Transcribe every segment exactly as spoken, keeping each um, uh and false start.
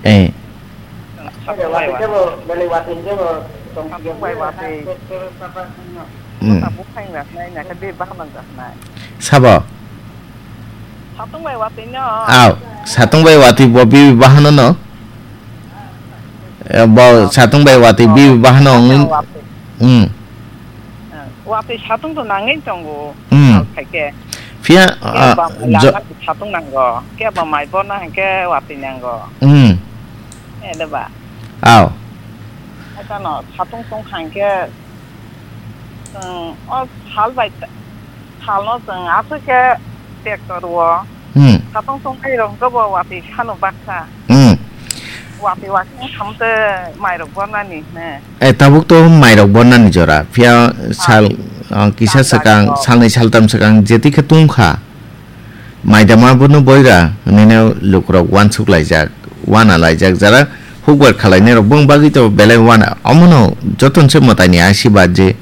Eh. Satung bai watwi. Satung bai watwi. Hmm. Bwsa buphang rok nai, nai khe bini bahan rok nai. Sabo? Satung bai watwi no. Aw, satung bai watwi bo bini bahan no. Eh, bo satung bai watwi bini bahan no. Satung bai watwi. Hmm. Eh, watwi satung to nangwi tongo. Hmm. Sal khaikhe. Phiya, kebo ah, mai jo- lama satung nango, kebo mai borna hinkhe watwi nango. Hmm. Ede ba? Aw. Haikhe no satung tong kha hinkhe, chwng o sal bai, salno chwng aswk khe tractor o. Hmm. Satung tong khairok hinkhe bo watwi sano baksa. Hmm. Watwi watwi wngkha mtwi mairok bornani hwnwi. Eh, tabuk to mairok bornani jora. Phiya sal, ah, kisa swkang, salnwi saltam swkang, jeti khe tungkha. Maidama bono boira, hwnwi no lukurok wansuk laijak, wana laijak, jara hukbar khalainai rok bong bagwi to belai wana. Omono joton se mwtaini asibad je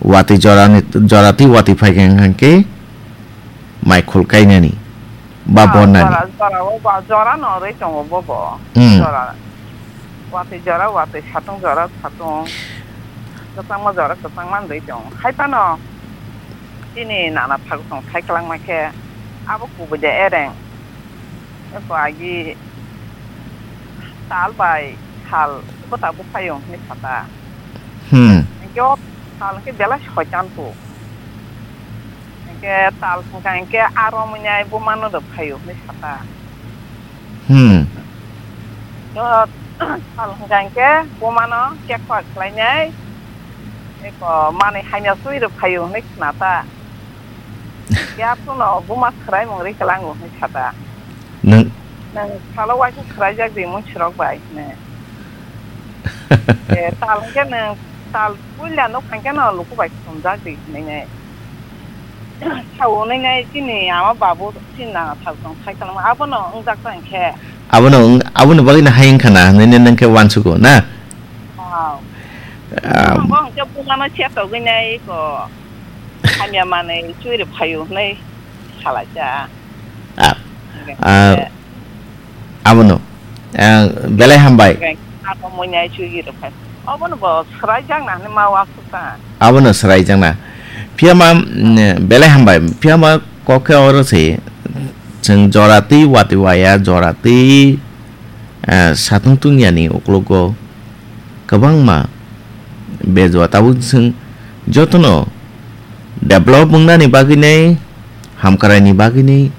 watwi jorani, joratwi watwi phaikha hwnkhe mai khul kainani ba, ah, bornani. Jora, jora o ba, jora no rwi tongo bo bo. Hmm. Jora. Watwi jora, watwi satung jora, satung. Kwchangma jora, kwchangma rwi tongo. Hai phano chini nana thagchong thai kwlangma khe abo kubui de ereng. Eko agi sal bai sal bwsa buphaiyung hinwi sata. Hmm. Hinkhe o sal hinkhe belai soitan tu. Hinkhe tal hwnkha hinkhe aro muinai bumano rw phaio hinwi sata. Hmm. O tal hwnkha hinkhe bumano kekpa khlainai eko manwi hamya sui rw phaio hinwi khna ta. Hinkhe aphuru no buma swraimung ri kwlango hinwi sata. Nwng Nwng salo waisa swraijak di mui swrok bai hwnwi. Eh, tal hwnkhe nwng tal puila nuk hwnkhe no luku bai khumjak di hwnwi nai. Sao hwnwi nai chini ama babu chini nana thal tong thai kwlangma abono wngjak ta hwnkhe. Abono wng-, aboni bagwino hai wngkha na hwnwi nai nwng khe uansugo na? Wow. Ah. Bo hwnkhe bumano chetogwi nai ko hamya manwi chwiri phaio hwnwi salaisa. Ah. Hwnkhe Ah. Abono, eh, belai hambai. Ako muinai chugwi rwkha. Obono bo swraijakna hinwi ma uansukha. Abono swraijakna. Phiya ma, mm, belai hambai. Phiya ma kok khe oro se, chwng jora twi watwi waya, jora twi, eh, satung tungyani uklogo. Kwbangma bejua tabuk chwng jotono develop wngnani bagwinai, hamkraini bagwinai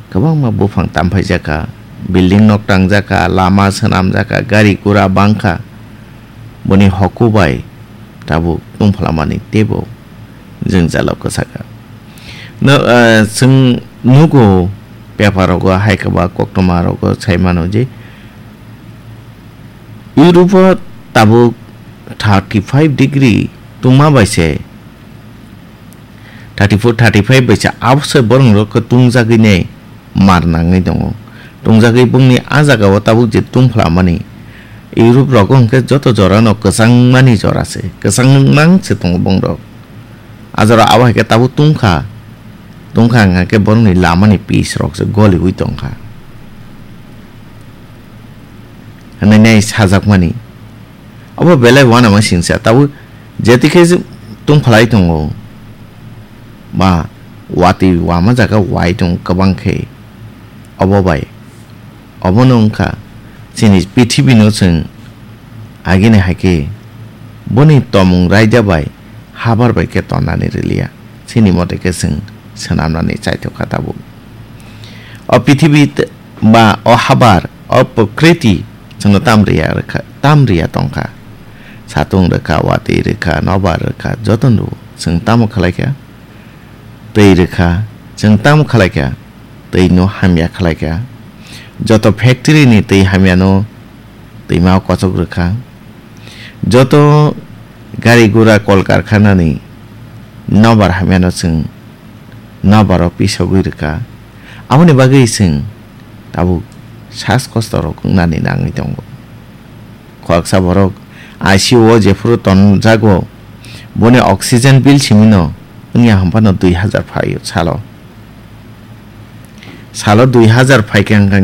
kwbangma buphang tamphaijakha, building nok tangjakha, lama swnamjakha, gari gura bangkha, boni hoku bai tabuk tungphalamani teibo jwngjalo kwchakha. No, eh, chwng nugo paper rogo hai kwba koktwma rogo sai mano je Europe o tabuk thirty five degree tungma bai se, thirty four, thirty five bai se, abo se borok rok khe tungjagwi nai mar nangwi tongo. Tungjagwi bongni a jaga o tabuk je tungphla mani, Europe rogo hwnkhe joto jora no kwchang mani jora se, kwchang nang se tongo bong rok. A jora abo hai khe tabuk tungkha, tungkha hwnkha khe borokni lamani pis rok se goliwi tongkha. Hwnwi nai sajakmani. Obo belai uanama singsa, tabuk jetikhe tungphalai tongo, ba watwi wama jaga wai tongo kwbang khe, obo bai, obono wngkha chini pithibino chwng agini hai khe boni tomung raida bai habar bai khe tonnani rwliya, chini mote khe chwng swnamnani chaithokha tabuk. O pithibi t-, ba o habar, o prokriti chwngno tam riya rwkha, tam riya tongkha. Satung rwkha, watwi rwkha, nobar rwkha, jotono rwo. Chwng tamo khlaikha? Twi rwkha, chwng tamo khlaikha? Twino hamya khlaikha. Joto factory ni twi hamyano twima o kochok rwkha. Joto gari gura kol karkhana ni nobar hamyano chwng nobaro pisogwi rwkha. Aboni bagwi chwng tabuk sas kosto rok wngnani nangwi tongo. Khoroksa borok I C U o jephuru tonjago, boni oxygen bill simino wngya hwnphano dui hazar phaio salo. Salo dui hazar phaikha hwnkha